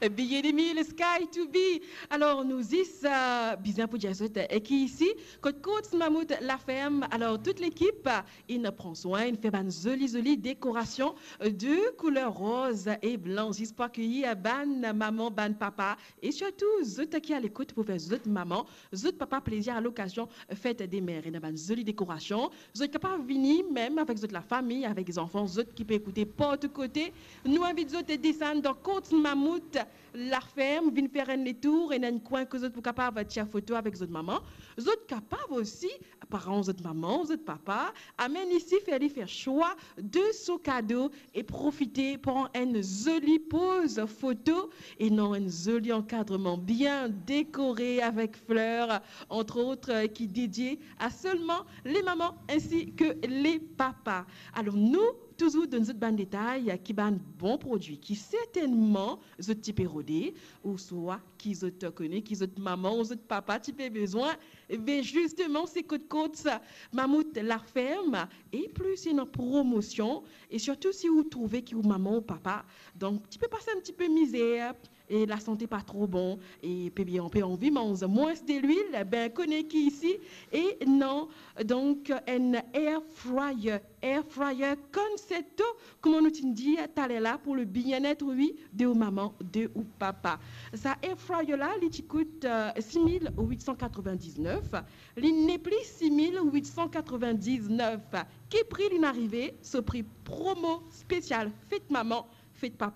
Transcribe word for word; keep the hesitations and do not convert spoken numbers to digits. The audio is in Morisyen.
Biye de mil, Sky to be. Alor, nou zis, euh, bizin pou dir zot, euh, ki isi, kot Courts Mammouth La Ferme. Alor, tout lekip, euh, inn pran swin, inn fer bann zoli, zoli dekorasion, euh, de kouler roz e blan, zis pou akeyir, euh, bann mama, bann papa, e sirtou zot ki alekout pou fer zot mama, zot papa plezir alokazion fet de mer. Ena bann zoli dekorasion. Zot kapav vini mem avek zot lafami, avek zanfan zot ki pe ekoute partou kote. Nou invit zot desann dan Courts Mammouth La Ferme, vinn fer enn letour, ena enn kwin kot zot pou kapav tir foto avek zot mama. Zot kapav osi, paran zot mama, zot papa, amenn isi, fer li fer swa de so kado e profite pran enn zoli poz foto e dan enn zoli ankadreman bien dekore avek fler, entre autres, ki dedie a selman le mama ensi ke le papa. Alor, nou touzour donn zot bann detay ki bann bon prodwi ki sertennman zot ti pe rode, ouswa ki zot kone ki zot mama ou zot papa ti pe bezwin. Be zisteman, se kot Courts Mammouth La Ferme, e plis ena promosion, e sirtou si ou trouve ki ou mama ou papa, donk, ti pe pas enn ti pe mizer, e lasante pa tro bon, e pe bien, pe anvi manz mwins delwil, be, kone ki isi, ena, donk, enn air fryer, air fryer Concerto, kouma nou ti dir taler la, pou le bien-être, wi, de ou mama, de ou papa. Sa air fryer la, li ti kout, euh, sis mil wit san katrevin-diznef, li nepli sis mil wit san katrevin-diznef. Ki pri li'nn arive? So pri promo spesial fet mama, fet papa.